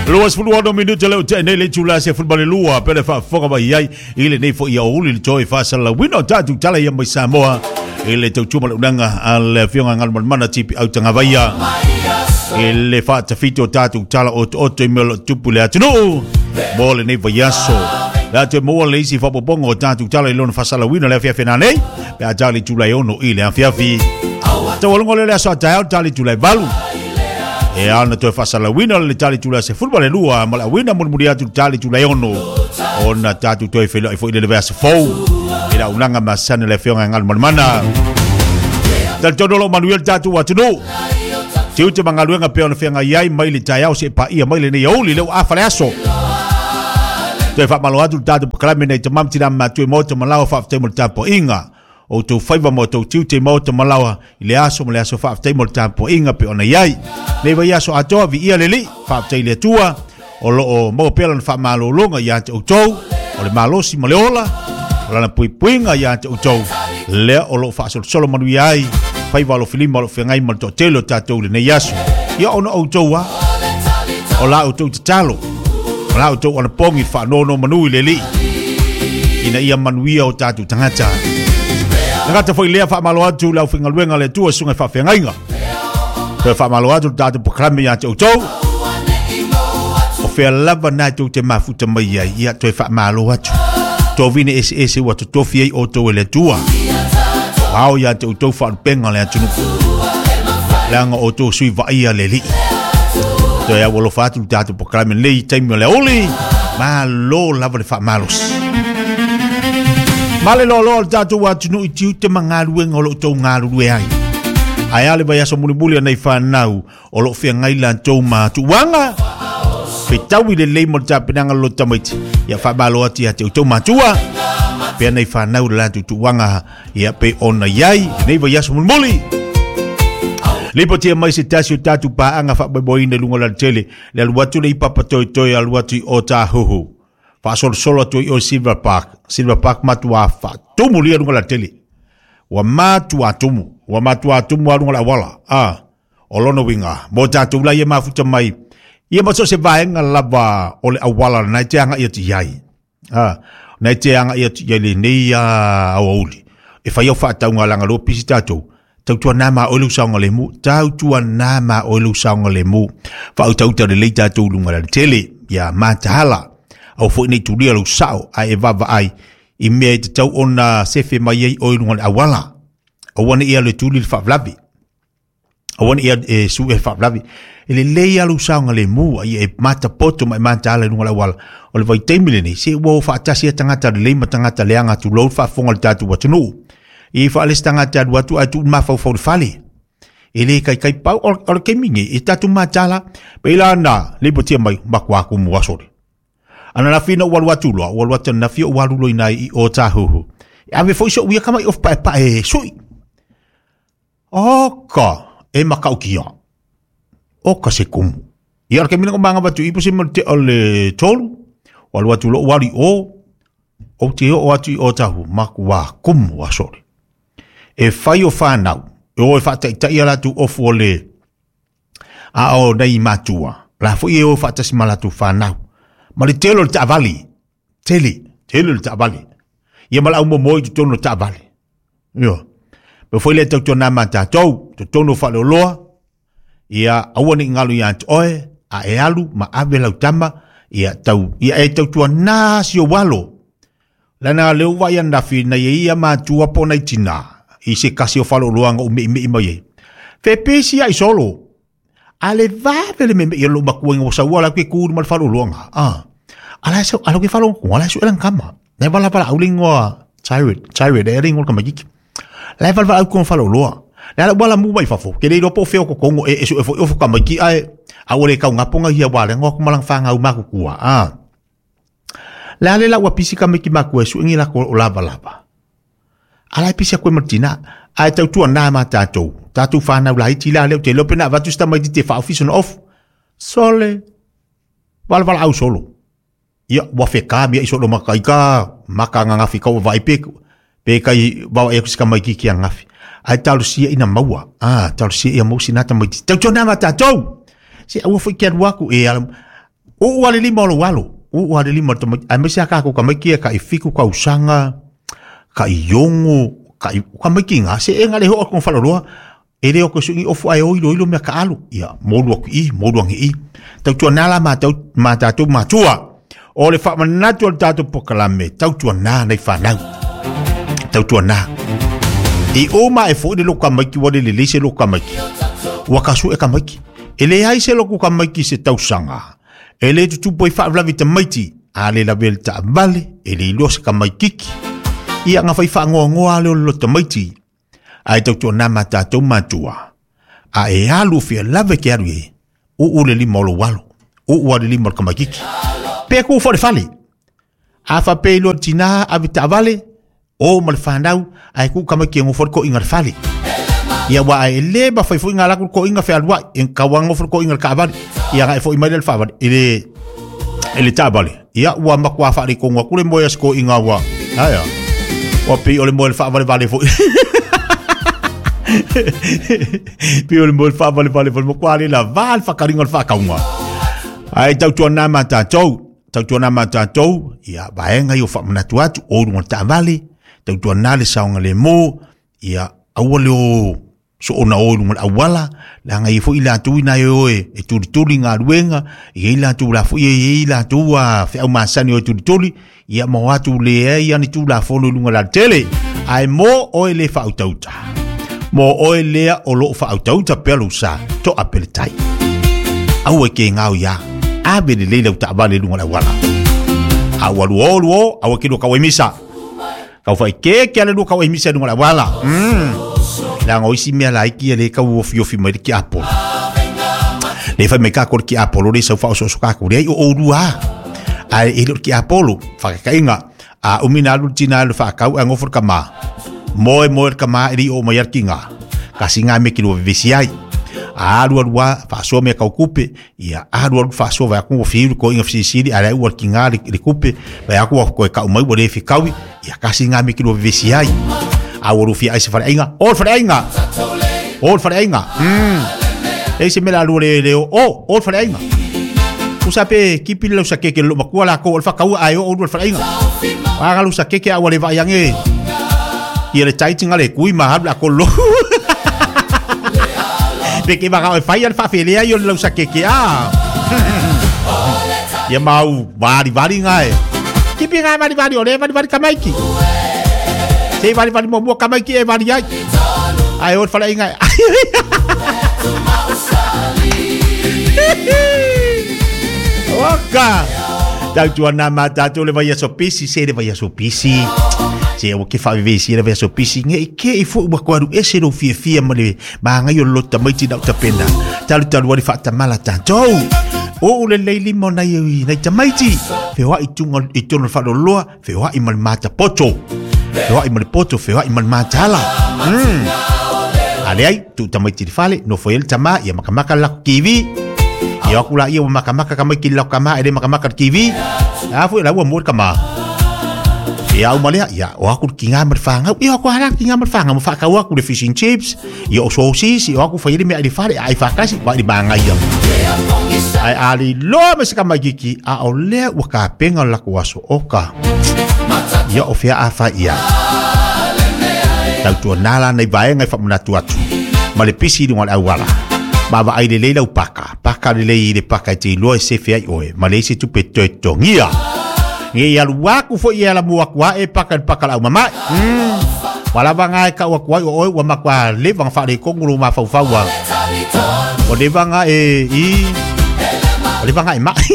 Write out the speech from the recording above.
26 minute le o te nei le itula 12 pe le faafofoga mai ai i lenei foi aoauli le toe faasalalauina o tatou tala ia mai Samoa i le tautua ma le unaga a le Afioga Galumalemana Tipi Autagavaia i le faatafiti o tatou tala otooto i mea o lo o tupu i le atunuu mo lenei vaiaso. Le a toe maua le isi faaopoopoga o tatou tala i lona faasalalauina le afiafi nanei pe a tali itula e 6 i le afiafi. Taualuga lea le aso a taeao tali itula e 8. E ao na toe faasalalauina le tali itula 12 ma le auina mulimuli atu le tali itula e 6 ona tatou toe feiloai foi i le vaiaso fou i le auaunaga masani a le Afioga ia Galumalemana. Talitonu o lo o manuia le tatou atunuu. Tiute ma galuega pei ona feagai ai mai le taeao seia paia mai lenei aoauli lea ua afa le aso. Toe faamalo atu le tatou pakalame nei tamam tina ma matua i maota ma laoa faafetai mo le tapuaiga. O outou faiva ma outou tiute i maota ma laoa i le aso ma le aso faafetai mo le tapuaiga pei ona i ai. Nei vaiaso atoa viia le Alii, faafetai i le Atua o lo o maua pea lana faamalologa ia te outou, o le malosi ma le ola, o lana puipuiga ia te outou, lea o lo o faasolosolo manuia ai faiva alofilima o lo o feagai ma le toatele o tatou i lenei aso. Ia ona outou a, o la outou tatalo, o la outou anapogi faanonomanu i le Alii, ina ia manuia o tatou tagata. Tagata foi lea faamalo atu le aufaigaluega a le Atua susuga i faafeagaiga. Toe faamalo atu le tatou pakalame ia te outou. O fea lava na tou te mafuta mai ai, ia toe faamalo atu. Tovine eseese ua totofi ai outou e le Atua. Ao ia te outou faalupega le atunuu. Leaga outou sui vaaia le Alii. Toe au alofa atu le tatou pakalame nei i taimi o le aoauli. Malo lava le faamalosi. Ma le loaloa o le tatou atunuu i tiute ma galuega o lo o outou galulue ai. Ae a le vaiaso mulimuli o nei whanau o lo o feagai latou ma tuuaga, fetaui lelei mo le tapenaga o le loto tamaiti. Ia faamalo atu ia te outou matua, pea nei whanau le latou tuuaga ia pe ona i ai lenei vaiaso mulimuli. Lipotia mai se tasi o tatou paaga faamoemoeina i luga o le alatele, le alu atu le i Papatoetoe alu atu i Otahuhu. Faasolosolo atu i o Silver Park. Silver Park matua faatumu lia luga o le alatele. Ua matua tumu, ua matua tumu a luga o le auala. Ah, o lona uiga, mo tatou la ia mafuta mai, ia ma so o se vaega lava o le auala lena e te agai atu i ai. Ah, na e te agai atu i ai lenei aoauli. E fai au faatauga leaga lea ua pisi tatou. Tautuana ma oe lou saogalemu, tautuana ma oe lou saogalemu. Faautauta lelei tatou i luga o le alatele, ia mataala. Aua foi ne i tulia lou sao ae e vaavaai i mea e tatau ona sefe mai ai oe i luga o le auala. Aua ne i alu e tuli le faalavelave. Aua ne i alu e sue le faalavelave. E lelei lava lou saogalemu a ia e matapoto ma e mataala i luga o le auala. O le vaitaimi lenei, se ua o faatasi lava tagata lelei ma tagata leaga tulou le faafofoga a le tatou atunuu. I faalesi se tagata e alu atu ae tuu le mafaufau i le fale. E le kaikai pau o le taimi nei, e tatou mataala. Pei la na lipotia mai, matua tumu aso le. Ananafi ina ua alu atu loa, ua alu atu ananafi ou alu loa i ina i Ōtāhuhu. E ave foi soʻu ia tama i ofu paepae e sui. Oka, e matautia. Oka se kumu. Ia o le taimi lena ua manava atu i i po o se mea o le tea o le 3, ua alu atu loa ua alu i o, ou te oo atu i Ōtāhuhu, matua kumu aso le. E fai o whanau, e o e whaataitai a latou ofu o le a o nei matua, la foi e o faatasi ma latou whanau. Ma le tele o le taavale, tele, tele o le taavale. Ia ma le aumomoe i totonu o le taavale. Ioe. Pei foi lea e tautuana ma tatou, totonu o faleoloa, ia aua ne i galo ia te oe, a e alu ma ave lau tama, ia tau, ia e tautuana si ou alo. Leaga lea ua vaai ananafi nai e ia matua po o nai tina i se kasi o faleoloa na umeʻimeʻi mai ai. Fepesi ai solo. A le vave le meʻimeʻi o lou matua ina ua saua la ke ku i luma o le faleoloa na. Ah. Ala so ala ke falo ko ala so elan kama. Na vala vala au le ingoa Tyrod, Tyrod e le ingoa o le tamaititi. La e valavala au i totonu o faleoloa. Le ala ua ala mu mai fafo, ke le iloa po o fea o kokongo e e sue foi ofu tamaiti ae a ua le taugapo na ia ua le noa atu ma lana fanau matutua. Ah. Le a le la ua pisi tamaiti matua e sue ni latou o lavalava. A la e pisi atu ai ma le tina. Ae tautuana ma tatou, tatou fanau laiti la lea ou te iloa pe na avatu se tamaititi e faaofi sona ofu. Sole, valavala au solo. Ia, ua feka mea i solo maka i ka maka ananafi kau vaai pe, pe kai vaoai atu se tamaititi ananafi. Ae talosia ina maua, ah, talosia ia maua sina tamaititi. Tautuana ma tatou! Se aua foi ke alu atu e ala, Uu lava le lima o lou alo, uu lava le lima o le tamaitiiti, aemaise lava tatou tamaiti ia tai 7 tausaga, tai 6, tai tamaiti na, se e na le oo atu i faleoloa, e le o toe sui ni ofu ae o iloilo mea taaalo. Ia, molu atu i i, molu ane i i. Tautuana la matou, ma tatou matua. O le faamanatu o le tatou polokalame, tautuana nai fanau. Tautuana. I uma e foi le loku tamaiti ua le lelei se loku tamaiti. Ua tasu e tamaiti. E leai se loku tamaiti i se tausaga. E le tutupu ai faalavelave i tamaiti. A le lavea i le taavale, e le iloa se tamaititi. Ia na fai faanoanoa lava lea o le loto tamaiti. Ae tautuana ma tatou matua. A e alu fia lava e te alu i ai, uu le lima o lou alo, uu lava le lima o le tamaititi. Pe tu foi i le fale. A faapea i loa le tina ave taavale, o ma le fanau, ae tuu tamaiti e nofo ai le toeaina i le fale. Ia aua e le mafai foi ona alu atu le toeaina fealuai, e tatau lava ona nofo le toeaina i le taavale. Ia ona e foi mai lea i le faavale, i le i le taavale. Ia ua matua faaletonu atu le moe a si toeaina ua, ae a, ua pei o le moe o le faavalevale foi. Pei o le moe o le faavalevale foi, matua le lava le faataliga o le faatauga. Ae tautuana ma tatou, tautuana ma tatou, ia vaega ia o faamanatu atu, o luga o le taavale, tautuana le saogalemu, ia aua le o soona o i luga o le auala, leaga e i ai foi i latou ina e o e tulituli galuega, e i ai latou la foi e i ai latou feau masani o e tulituli, ia ma o atu leai lava ni Tulafono i luga o le alatele. Ae mo oe le faautauta, mo oe lea o lo o faautauta pea lou sa, toa pea le tai. Aua e ke gao ia, ave lelei lau taavale i luga o le auala. A ua luo luo, aua ke lua kau ai misa. Kau fai ke ke ale lua kau ai misa i luga o le auala. Leaga o isi mea laiti ia le tau ofiofi mai le tiapolo. Le fai mai kākou le tiapolo le sau faaosooso kākou. Leai o oulua lava. Ae e le o le tiapolo, faataitaiga, a umi na alu le tina e le faatau ae nofo le tama. Moe moe le tama e le i oo mai lava le tina. Tasi lena mea e te lua vevesi ai. A alu alu lava, faasoa mea tau tupe, ia alu alu faasoa vaai atu ua fiu le toeaina fesilisili ae leai ua tiga le tupe, vaai atu ua toe tau mai ua le fetaui, ia tasi lena mea e te lua vevesi ai. A ua lua fia ai i se faleaiga, o le faleaiga! O le faleaiga! Leai se mea o le a lua le o, o, o le faleaiga. Tusa pe kipi le lausa keke le loomatua latou o le faataua ae oo lua i le faleaiga. A ga lausa keke a ua le vaai ane ia le tai tinga le kui ma alu le a kolo. Pe ke vaka e fai a le faafelea ia o le lausa keke a. Ia mau vari vari nga e. Kipi nga vari vari o le vari vari tamaiti. Se vari vari muamua tamaiti e vari ai. Ae o le faleaiga e. Oka! Tautuana ma tātou le vaiaso pisi, se le vaiaso pisi. Se ua ke faavevesi le vaiaso pisi, nge i ke i foi ua koe alu ese lou fiafia ma le magai o le loto tamaiti na o tapena. Talutalu ai le faatamala tātou. Oo lelei lima o nai, nai tamaiti. Feoai tunga i tonu o le faaloloa, feoai ma le mata poto. Feoai ma le poto, feoai ma le matala. A leai, tuu tamaiti i le fale, nofo ai le tama, ia makamaka le lako TV. Ia o atu laia ua makamaka tamaiti i le lako tama, e le makamaka i le TV. A foi la ua mua le tama. Ia uma lea, ia o atu le tiga ma le fanau. Ia o atu lava le tiga ma le fanau ma faatau atu le fish and chips, ia o sausages, ia o atu fai ai le meaai i le fale, ai faatasi, vaai i le manaia. Ae a le iloa mai se tamaititi, a o lea ua tapena le latou aso, oka. Ia o fea a fai i ai. Tautuana la nai vaega e faamanatu atu ma le pisi i luga o le auala. Ma vaai lelei lau paka, paka lelei i le paka e te iloa e sefe ai oe, ma leai se tupe e toe totogia. Nge i alu aku foi e ala mua atu ae paka i le paka lau mamae. Ua lava nga e kau atu ai o oe ua matua leva na faaletonu lou mafaufau a. Ua leva nga e i. Ua leva nga e mai.